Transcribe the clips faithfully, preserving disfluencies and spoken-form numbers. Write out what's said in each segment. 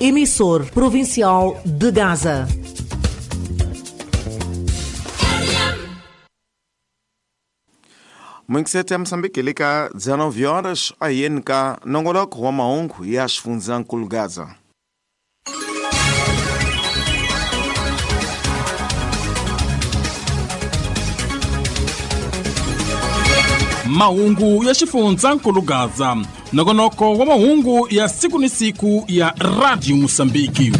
emissor provincial de Gaza. Mwinkisete ya Msambiki lika dezenove horas a N K nongoloko wa mahungu ya xifundzankulu Gaza. Mahungu ya xifundzankulu Gaza, nongonoko wa mahungu ya siku ni siku ya Radio Msambiki.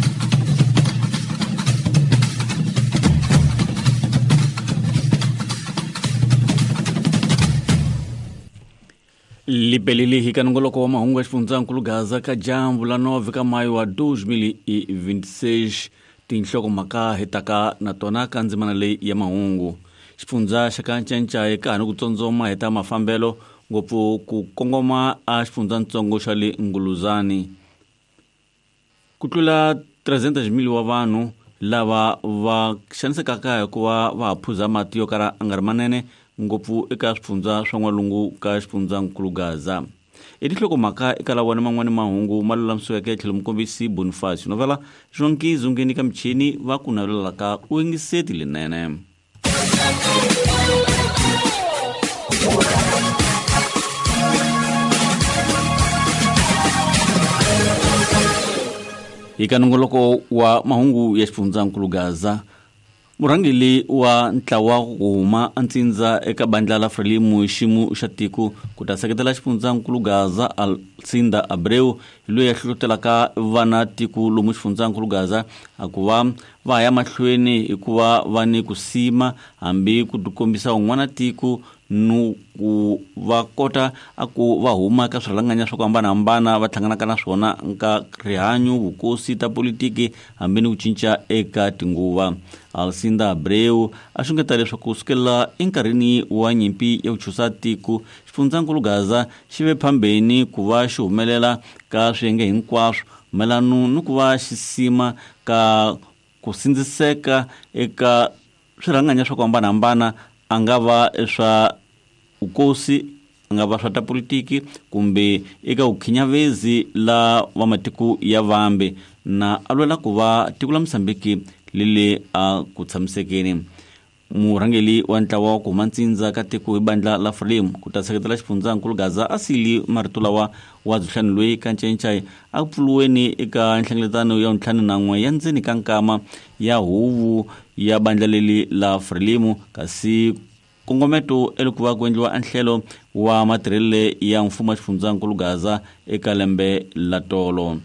Libelele hi ka nongoloko wa mahungu ya xifundzankulu Gaza ka dyambu la nove ka mayo wa dois mil e vinte e seis, tinhlokomhaka hi taka na tona ka ndzimana leyi ya mahungu. Xifundza xa ka Ncancai ka ha ni ku tsotsoma hi ta mafambelo ngopfu ku kongoma a xifundzatsongo xa le Nguluzani. Ku tlula trezentos mil wa vanhu lava va xanisekaka hikuva va ha phuza mati yo kala a nga ri manene ngopfu eka swifundza swa n'walungu ka xifundzankulu Gaza. I tinhlokomhaka eka lawa na man'wani mahungu ma lulamisiweke tlhelo mukombisi Boniface Novela Jonki Zungeni ka michini va ku navelelaka u yingiseti lenene. Eka nongoloko wa mahungu ya xifundzankulu Gaza, murhangeri wa ntlawa ku huma antsindza eka bandla la Frelimo xiyimo xa tiko ku ta seketela xifundzankulu Gaza Alcinda Abreu loyi a hlohlotelaka vana tiko lomu xifundzankulu Gaza a ku va va ya mahlweni hikuva va ni ku sima hambi ku tikombisa un'wana tiko nu ku va kota a ku va huma ka swirhalanganya swa ku hambanahambana va hlanganaka na swona nka rihanyo, vukosi, ta politiki hambi ni ku cinca eka tinguva. Alcinda Abreu a xungeta leswaku sukela enkarhini wa nyimpi ya ku chusa tiko xifundzankulu Gaza xi ve phambeni ku va xi humelela ka swiyenge hinkwaswo mayelana ni ku va xi sima ka ku sindziseka eka swirhanganya swa ku hambanahambana, a nga va swa vukosi, a nga va swa ta politiki kumbe eka vukhinyavezi la va matiko ya vambe, na a lwela ku va tiko la Msambiki lele a ku tshamisekeni. Murhangeri wa ntlawa wa ku huma ntsindza ka tiko hi bandla la Frelimo ku ta seketela xifundzankulu Gaza a sili marito lawa wa Dzuhlani loyi ka Ncancai a pfuluweni eka nhlengeletano ya ntlhanu na n'we ya ndzeni ka nkama ya huvo ya bandla leli la Frelimo, kasi kongometo eloko va ku endliwa nhlelo wa matirhele ya mfumo wa xifundzankulu Gaza eka lembe la tolo.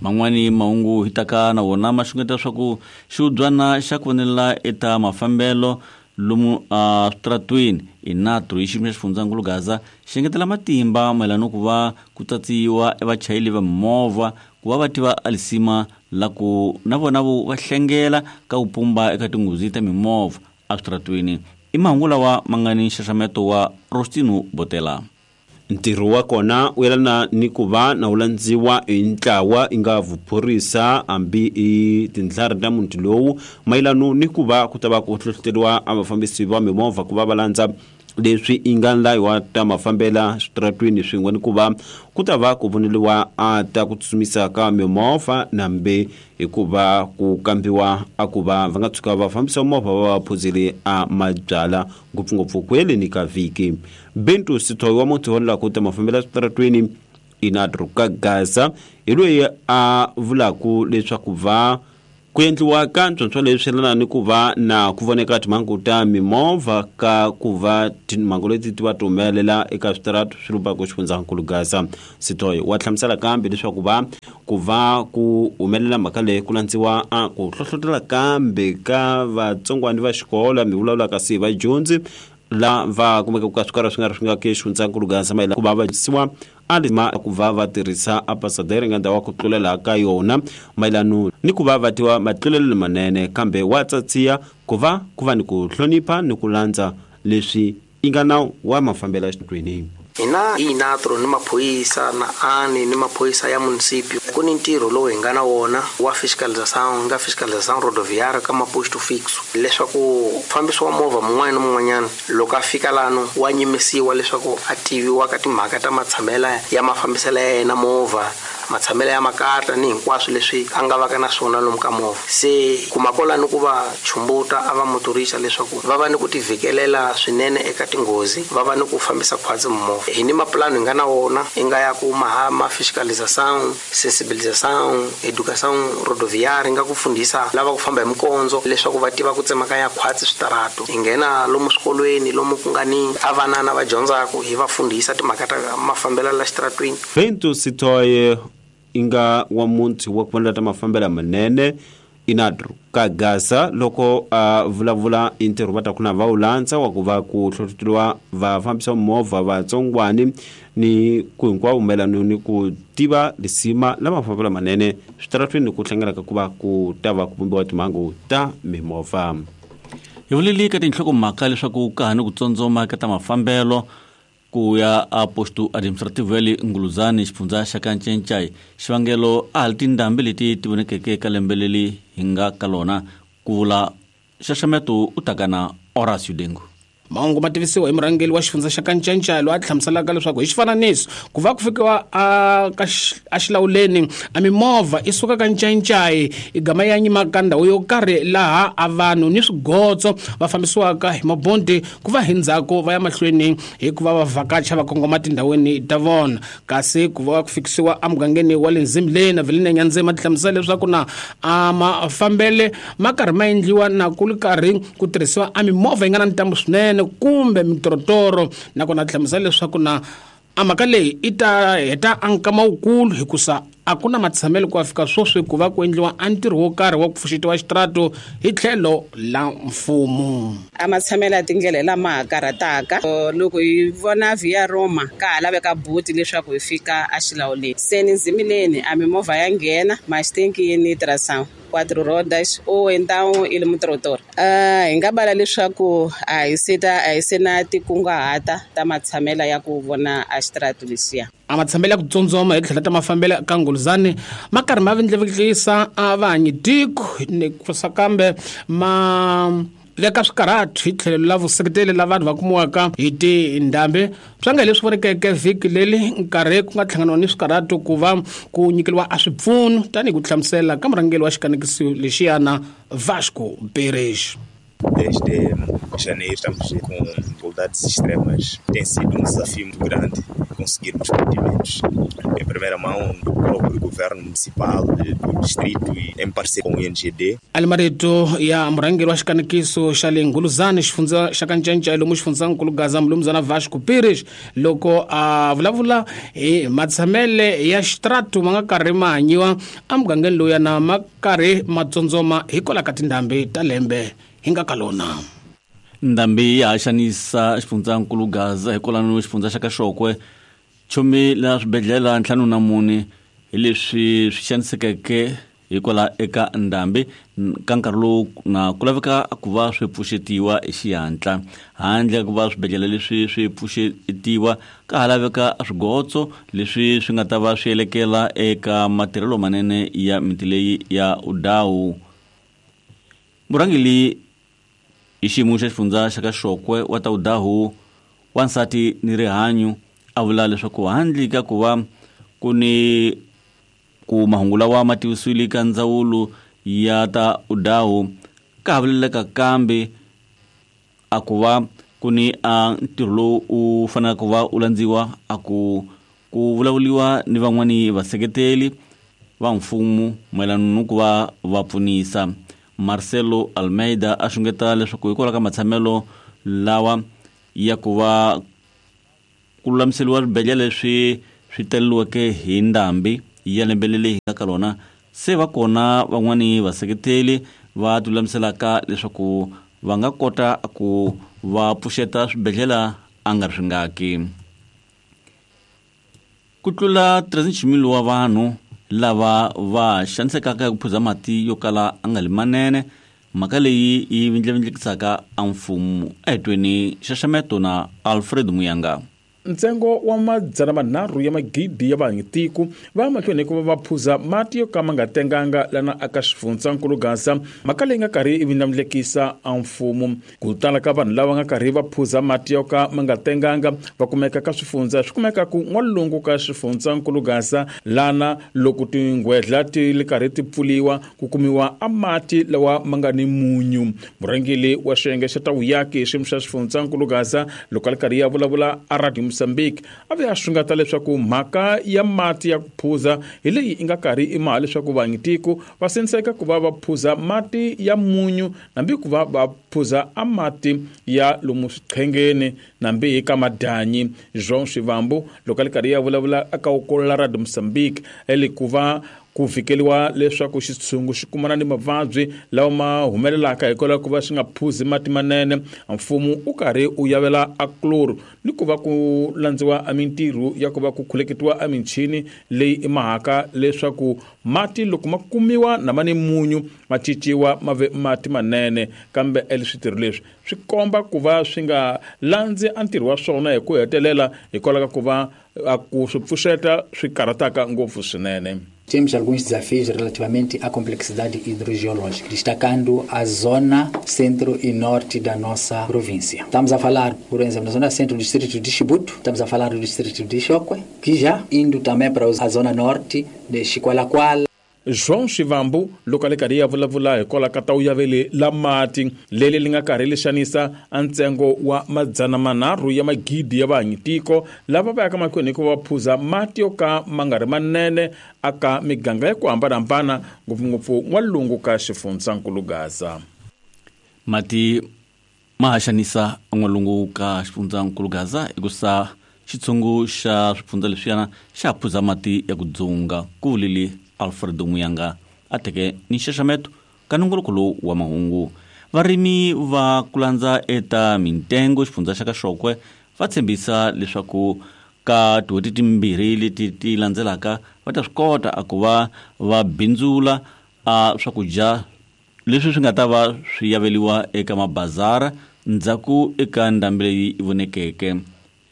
Man'wani mahungu hi taka na wona ma xungeta swa ku xiubyana xa ku vonelela eta mafambelo lomu a switaratweni inatru hi xiyimo xa xifundzankulu Gaza xi engetela matimba mayelana ku va ku tsatsiwa evachayeri va mimovha ku va va tiva alisima la ku na vona vo va hlengela ka ku pumba eka tinghozi ta mimovha eswitaratweni. I mahungu lawa ma nga ni nxaxameto wa Rostino Botela. Ntirho wa kona wu yelana ni ku va na wu landziwa hi ntlawa i nga vuphorisa hambi i tindlari ta muti lowu mayelano ni ku va ku ta va ku hlohloteriwa a vafambisi va mimovha ku va va landza leswi i nga layiwa ta mafambela switaratwini swin'we ni ku va ku ta va ku voneliwa a ta ku tsutsumisa ka mimovha nambe hikuva ku kambiwa a ku va va nga tshuka va fambisa movha va va phuzile a mabyala ngopfungopfu ku yeleni ka vhiki. Bento Sithoyi wa muti wa ku ta mafambela switaratwini inatru ka Gaza hi loyi a vulaku leswaku va ku endliwa ka ntswontswo leswi yelana ni ku va na ku voneka timhangu ta mimovha ka ku va timhangu leti ti va ti humelela eka switaratu swi lumbaka xifundzankulu Gaza. Sithoyi wa hlamusela kambe leswaku va ku va ku humelela mhaka leyi ku landziwa a ku hlohlotela kambe ka vatsongwani va xikolo mi vulavulaka si vadyondzi la va kumeka ku ka swikara swi nga ri swi nga ke xifundzankulu Gaza mayelana ku va va siwa a ma ku va va tirhisa a pasadera nga ndhawu ku tlulela ka yona mayelano ni ku va va tiva matlulelo manene kambe wa tsatsiya ku va ku va ni ku hlonipha ni ku landza leswi i nga nawu wa mafambelo ya xitweni. Hina hi Inatro ni maphorisa na ani ni maphorisa ya municipio ku ni ntirho lowu hi nga na wona wa fiscalização nga fiscalização rodoviária ka maposto fixo leswaku mufambisi wa movha mun'wana na mun'wanyana loko a fika lano wa nyimisiwa leswaku a tiviwa ka timhaka ta matshamela ya mafambiselo ya yena movha matshamelo ya makata ni hinkwaswo leswi a nga vaka na swona lomu ka movha. Se kuma kwalano ku va chumbuta a va motorisa leswaku va va ni ku tivhikelela swinene eka tinghozi, va va ni ku fambisa khwatsi movha. Hi ni mapulani hi nga na wona i nga ya ku mahama fiscalização, sensibilização, educação rodoviária, nga ku fundisa lava ku famba hi mikondzo leswaku va tiva ku tsemakanya khwatsi switarato. Hi nghena lomu swikolweni lomu ku nga ni a vanana va dyondzaka hi va fundisa timhaka ta mafambelo la xitaratwini. Bento Sitoye inga wa munthu wa ku ta mafambelo manene inadru ka Gaza loko a vulavula ntirho va ta kuna va wu landza wa ku va ku hlohloteliwa va fambisa movha vatsongwani ni ku hinkwavo mayelana ni ku tiva lisima la mafambelo manene switaratwini ku hlanganaka ku va ku ta va ku vumbiwa timhangu ta mimovha. Hi vuleli ka tinhlokomhaka leswaku ka ha ni ku tsondzoma ka ta mafambelo ku ya a posto administrativo ya le Nguluzani xifundza xa Kanchenchai. Xivangelo a ha li tindhambi leti ti vonekeke ka lembe leri hi nga ka lona, ku vula nxaxameto u taka na Horacio Dengu. Mahungu ma tivisiwa hi murhangeri wa xifundza xa Kanchenchai loyi a hlamuselaka leswaku hi xifananiso ku va ku fikiwa a ka a xilawuleni a mimovha i suka Kanchenchai i gama ya nyima ka ndhawu yo karhi laha a vanhu ni swigotso va fambisiwaka hi mabondi ku va hi ndzhaku va ya mahlweni hikuva va vhakacha va kongoma tindhawini ta vona. Kasi ku va ku fikisiwa emugangeni wa le Nzimleni na Vilina Nyandzema ti hlamusela leswaku na a mafambele ma karhi ma endliwa na ku ri karhi ku tirhisiwa a mimovha yi nga na ntambu swinene kumbe mitorotoro. Nakona hlamusela leswaku na a mhaka leyi i ta heta a nkama wukulu hikusa a ku na matshamelo ku fika sweswi ku va ku endliwa a ntirho wo karhi wa ku pfuxetiwa xitirato hi tlhelo la mfumo. A matshamelo ya tindlela lama ha karhataka loko hi vona Via Roma ka ha laveka buti leswaku hi fika a xilawuleni. Se ni Nzimileni a mimovha ya nghena maxitenkini tração quatro rodas ou então ele motor. Ah, hi nga bala leswaku a hi se ta a hi se na tikunguhata ta matshamelo ya ku vona a xitirato lexiya. A matshamelo ya ku tsundzuma hi tlhela ta mafambelo ka Nguluzani ma karhi ma vindlevekisa a vahanyi tiko ni kusa kambe ma veka swikarhatu hi tlhelo la vuseketeli la vanhu va kumiwaka hi tindhambi. Swa nga leswi vonekeke vhiki leri nkarhi ku nga hlanganiwa ni swikarhatu ku va ku nyikeriwa a swipfuno tanihi ku hlamusela ka murhangeri wa xikanekiso lexiyana Vasco Pérez. Desde janeiro estamos com dificuldades extremas. Tem sido um desafio muito grande conseguirmos mantimentos. Em primeira mão do próprio governo municipal, do distrito e em parceria com o I N G D. Alimarito ya murhangeri wa xikanekiso xa le Nguluzani xifundza xa Kanchenchai lomu xifundzankulu Gaza mulumuzana Vasco Pérez loko a vulavula hi matshamele ya xitirato ma nga karhi ma hanyiwa emugangeni lowu yana ma karhi ma tsundzuma hikwalaho ka tindhambi ta lembe hi nga ka lona. Ndhambi ya ha xanisa xifundzankulu Gaza hikwalano xifundza xa Kaxokwe chomi la swibedhlele ntlhanu na mune hi leswi swi xanisekeke hikwalaho eka ndhambi ka nkarhi lowu na ku laveka ku va swi pfuxetiwa hi xihatla. Handle ka ku va swibedhlele leswi swi pfuxetiwa ka ha laveka swigotso leswi swi nga ta va swi elekela eka matirhelo manene ya miti leyi ya Udawu. Murhangeri hi xiyimo xa xifundza xa Kaxokwe wa ta Udahu wansati ni rihanyo a vula leswaku handle ka ku va ku ni ku mahungu lawa ma tivisiwile ka ndzawulo ya ta Udahu ka ha vuleleka kambe a ku va ku ni a ntirho lowu u faneleke ku va u landziwa a ku ku vulavuriwa ni van'wani vaseketeli va mfumo mayelana ni ku va va pfunisa. Marcelo Almeida a xungeta leswaku hikwalaho ka matshamelo lawa ya ku va ku lulamiseriwa swibedhlele leswi swi taleriweke hi ndhambi ya lembe leri hi nga ka lona se va kona van'wani vaseketeli va tilulamiselaka leswaku va nga kota ku va pfuxeta swibedhlele a nga ri swingaki. Ku tlula three wa vanhu lava va xanisekaka hi ku phuza mati yo kala a nga li manene, mhaka leyi yi vindlavindlekisaka a mfumo. A hi tweni nxaxameto na Alfred Muyanga. Ntsengo wa madzana manharhu ya magidi ya vanhu tiko va mahlweni ku va va phuza mati yo ka ma nga tenganga lana aka xifundzankulu Gaza, mhaka leyi nga karhi i vindlamulekisa a mfumo. Ku tala ka vanhu lava nga karhi va phuza mati yo ka ma nga tenganga va kumeka ka swifundza swi kumeka ku n'walungu ka xifundzankulu Gaza, lana loko tinghwedla ti li karhi ti pfuliwa ku kumiwa a mati lawa ma nga ni munyu. Murhangeri wa xiyenge xa ta vuyaki xiyimo xa xifundzankulu Gaza loko a li karhi ya vulavula a Radio Mozambique a ve a xungeta leswaku mhaka ya mati ya ku phuza hi leyi i nga karhi i maha leswaku vanhu tiko va senseka ku va va phuza mati ya munyu nambi ku va va phuza a mati ya lomu swiqhengeni nambi hi ka madanyi. João Shivambu loko a li karhi ya vulavula aka ukolola Radio Mozambique eli ku va ku fikeliwa leswaku xitshungu xi kumana ni mavabyi lawa ma humelelaka hikwalaho ku va xi nga phuzi mati manene, mfumo u karhi u yavela a chloro ni ku va ku landziwa a mintirho ya ku va ku khuleketiwa a michini leyi i mahaka leswaku mati loko ma kumiwa na ma ni munyu ma cinciwa ma ve mati manene. Kambe eli switirho leswi swi komba ku va swi nga landzi a ntirho wa swona hi ku hetelela hikwalaho ka ku va a ku swi pfuxeta swi karhataka ngopfu swinene. Temos alguns desafios relativamente à complexidade hidrogeológica, destacando a zona centro e norte da nossa província. Estamos a falar, por exemplo, na zona centro do distrito de Chibuto, estamos a falar do distrito de Chokwe, que já indo também para a zona norte de Chiqualaquala. João Shivambu loko a li karhi ya vulavula hikwalaho ka ta wu yavele la mati leli li nga karhi li xanisa a ntsengo wa madzana manharhu ya magidi ya vanhu tiko lava va yaka mahlweni ku va phuza mati yo ka ma nga ri manene aka miganga ya ku hambanahambana ngopfungopfu n'walungu ka xifundzankulu Gaza. Mati ma ha xanisa n'walungu ka xifundzankulu Gaza hikusa xitshungu xa swifundza leswiyana xa phuza mati ya ku dzunga, ku vulile Alfredo Muyanga a teke ni nxaxameto ka nongoloko lowu wa mahungu. Varimi va ku landza eta mintengo xifundza xa ka Xokwe va tshembisa leswaku ka tin'hweti timbirhi leti ti landzelaka va ta swi kota a ku va va bindzula a swakudya leswi swi nga ta va swi yaveliwa eka mabazara ndzhaku eka ndhambi leyi yi vonekeke.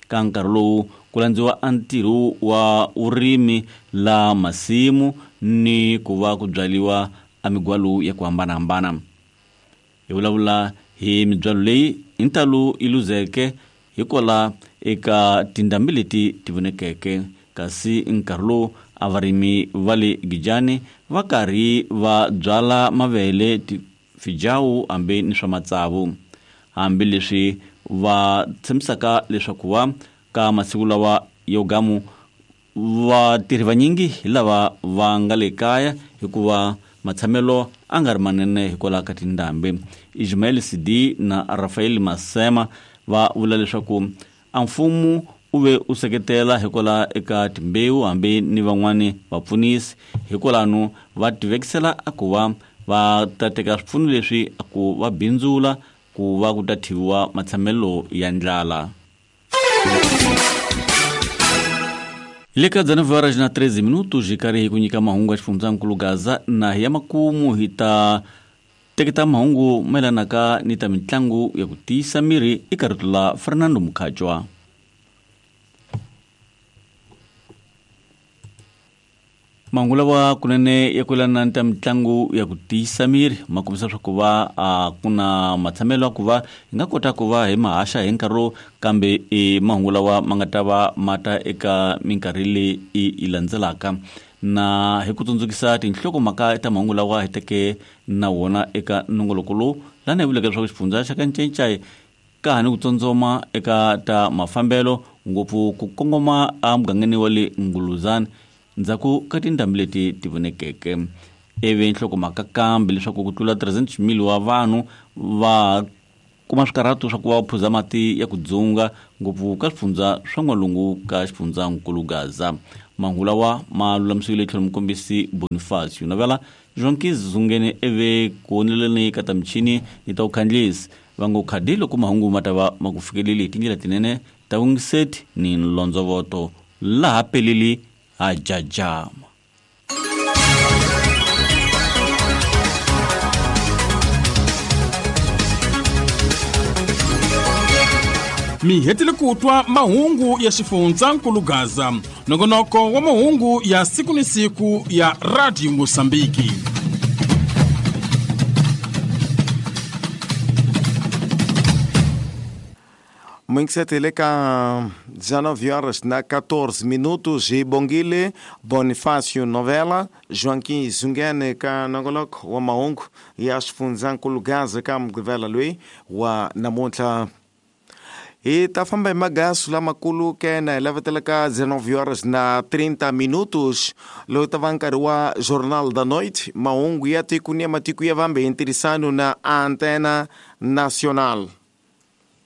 Ka nkarhi lowu ku landziwa a ntirho wa vurimi la masimu ni ku va ku byaliwa a migwalo ya ku hambanahambana. Hi vulavula hi mibyalo leyi hi ntalo yi luzeke hikwala eka tindhambi leti ti vonekeke, kasi nkarhi lowu a varimi va le Gijani va karhi va byala mavele, tifijawu hambi ni swa matsavu, hambileswi va tshembisaka leswaku va ka masiku lawa yo gamu vatirhi vanyingi hi lava va nga le kaya hikuva matshamelo a nga ri manene hikwalaho ka tindhambi. Ismael Sidi na Rafael Masema va vula leswaku a mfumo u ve u seketela hikwalaho eka timbewu hambi ni van'wani vapfunisi, hikwalano va tivekisela a ku va va ta teka swipfuno leswi a ku va bindzula ku va ku ta thiviwa matshamelo ya ndlala. Le ka dezenove horas na treze minutos hi karhi hi ku nyika mahungu ya xifundzankulu Gaza na hi ya makumu hi ta teketa mahungu mayelanaka ni ta mitlangu ya ku tiyisa miri eka rito la Fernando Mukhajwa. Mahungu lawa kunene ya ku yelana ni ta mitlangu ya ku tiyisa miri ma kombisa swa ku va a ku na matshamelo ya ku va hi nga kota ku va hi mahaxa hi nkarhi lowu, kambe i mahungu lawa ma nga ta va ma ta eka minkarhi leyi yi landzelaka. Na hi ku tsundzukisa tinhlokomhaka ta mahungu lawa hi teke na wona eka nongoloko lowu lana hi vuleke leswaku xifundza xa ka Ncencai ka ha ni ku tsotsoma eka ta mafambelo ngopfu ku kongoma emugangeni wa le Nguluzana ndzhaku ka tindhambi leti ti vonekeke. Ivi nhlokomhaka kambe leswaku ku tlula trezentos mil wa vanhu va kuma swikarhato swa ku va phuza mati ya ku dzunga ngopfu ka swifundza swa n'walungu ka xifundzankulu Gaza. Mahungu lawa ma lulamisiwile tlhelo mukombisi Bonifacio Navela Jonki Zungene eve ku oneleni ka ta michini ni ta vukhandlisi va ngo khadi loko mahungu ma ta va ma ku fikeleli hi tindlela tinene ta vungiseti ni nlondzovoto laha peleli a jajama. Mi hetile ku twa mahungu ya xifundzankulu Gaza, nongonoko wa mahungu ya siku ni siku ya Radio Mosambiki. Muito ka dezenove horas na catorze minutos e Bongile Bonifácio Novela Joaquim Zungene ka nongoloko wa mahungu ya xifundzankulu Gaza ka Mugqivela loyi wa namuntlha. Hi ta famba hi magasu lamakulu kena hi lavetela ka dezenove horas na trinta minutos lowu ta va nkarhi wa Jornal da Noite, mahungu ya tiko ni ya matiko ya vambe hi ntirhisano na Antena Nacional.